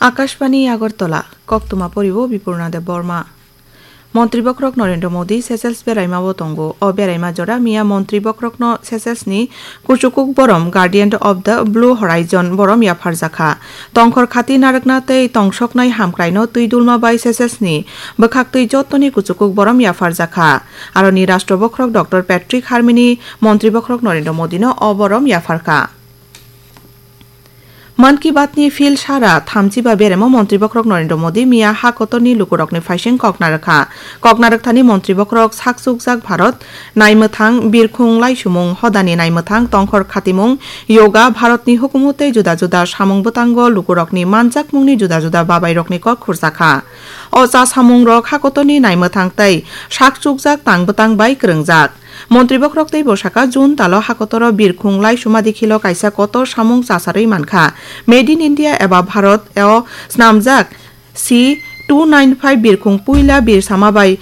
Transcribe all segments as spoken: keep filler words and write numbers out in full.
Akashbani Agartala, koktwma poribo Bipurna Debbarma. Montri bokhorok Narendra Modi Seychelles beraima o tongo. O beraima jora miya montri bokhorokno Seychelles ni kuchukuk borom Guardian of the Blue Horizon borom yapharjakha. Tongkhor khati narwkna tei tongsoknai hamkraino twi dulma bai Seychelles ni bwkhaktwi jottoni kuchukuk borom yapharjakha. Aroni Rashtra bokhorok Doctor Patrick Herminie montri bokhorok Narendra Modino o borom yapharkha. Mann Ki Baat ni phil sara thamchi ba beremo montri bokhorok Narendra Modi miya ha kotorni lukurokni phaising kok narwkha. Kok narwkthani montri bokhorok sak chukjak Bharat, naimwthang birkhung laisumung hodani naimwthang tongkhor khatimung, yoga, Bharatni hukumu tei juda juda samung bwtango lukurokni manjakmungni juda juda babairokni kok khurjakha. O cha samungrok ha kotorni naimwthang tei sak chukjak tang bwtang bai kwrwngjak. Montri bokhorok tei bwsaka June talo hakotoro birkhung laisuma dikhilo kaisa kotor samung chasarwi mankha. Made in India eba Bharat o snamjak C two nine five birkhung puila birsama bai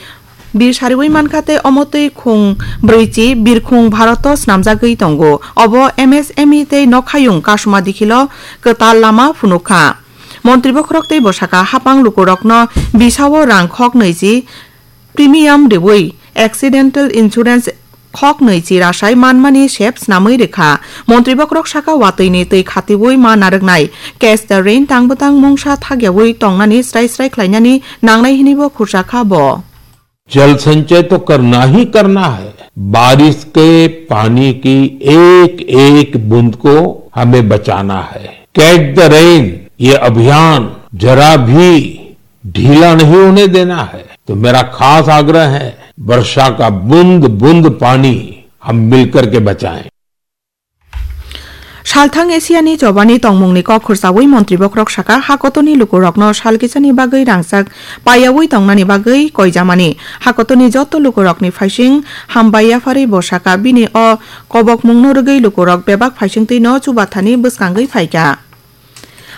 bir sariwi mankha tei omo twi khung brwichi birkhung Bharat o snamjagwi tongo. Obo M S M E tei nokhayung kasuma dikhilo kwtal lama phunukha. Montri bokhorok tei bwsaka hapang lukurokno bisao rang khok nwichi premium riwi accidental insurance khok nwichi rasai manmani sep snamwi rwkha. Montri bokhorok saka watwini twi khatiwi ma narwknai Catch the Rain tang bwtang mungsa thakyawi tongnani srai srai khlainani nangnai hwnwibo khursa kha bo. जल संचय तो करना ही करना है, बारिश के पानी की एक एक बूंद को हमें बचाना है। कैच द रेन, ये अभियान जरा भी ढीला नहीं होने देना है। तो मेरा खास आग्रह है, वर्षा का बूंद बूंद पानी हम मिलकर के बचाएं। Salthang Asiani chobani tongmungni kok khursawi montri bokhorok saka, hakotorni lukurokno sal kisani bagwi rangchak paiyawi tongnani bagwi koijamani. Hakotorni joto lukurokni phaising hambai yapharwi bo saka, bini o kobokmungno rwgwi lukurok bebak phaisingtwino chubathani bwskangwi phaikha.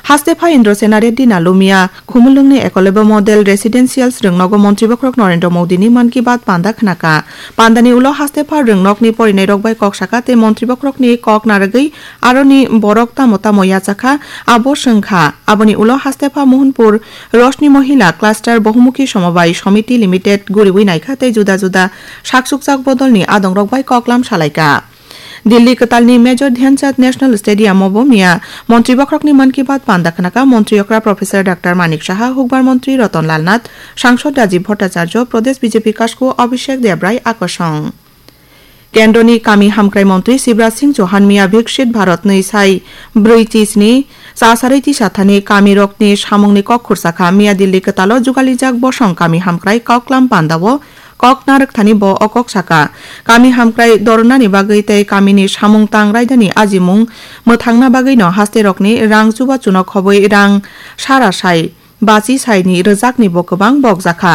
Hastepha Indrasena Reddy Nalumia, Khumulwngni Ekolebo Model Residentials rwngnogo montri bokhorok Narendra Modini Mann Ki Baat panda khnakha. Pandani ulo hastepha rwngnokni porinairok bai kok saka tei montri bokhorokni kok narwgwi aroni borok tamo tamo yachakha, abo swngkha. Aboni ulo hastepha Mohanpur Roshni Mohila Cluster Bohumukhi Somobai Somiti Limited guriwi naikha tei juda juda saksukjak bodolni adongrok bai koklam salaikha. Delhi kwtalni Major Dhyan Chand National Stadium o bo miya montri bokhorokni Mann Ki Baat panda khnakha. Montri okra Professor Doctor Manik Saha, hukbar montri Ratan Lal Nath, sangsod Rajiv Bhattacharya, Pradesh B J P kasku Abhishek Debrai akosong. Kendroni kami hamkrai montri Shivraj Singh Chauhan miya Viksit Bharat nwi sai brwi chisni chasarwi tisathani kamirokni samungni kok khursa kha. Miya Delhi kwtalo jugalijak bosong kami hamkrai koklam pandao kok narwkthani bo o kok saka. Kami hamkrai dornani bagwi tei kamini samung tang raidani ajimung mwthangna bagwino hasterokni rang chubachuno khobwi rang sara sai bachi saini rwjakni bo kwbang bokjakha.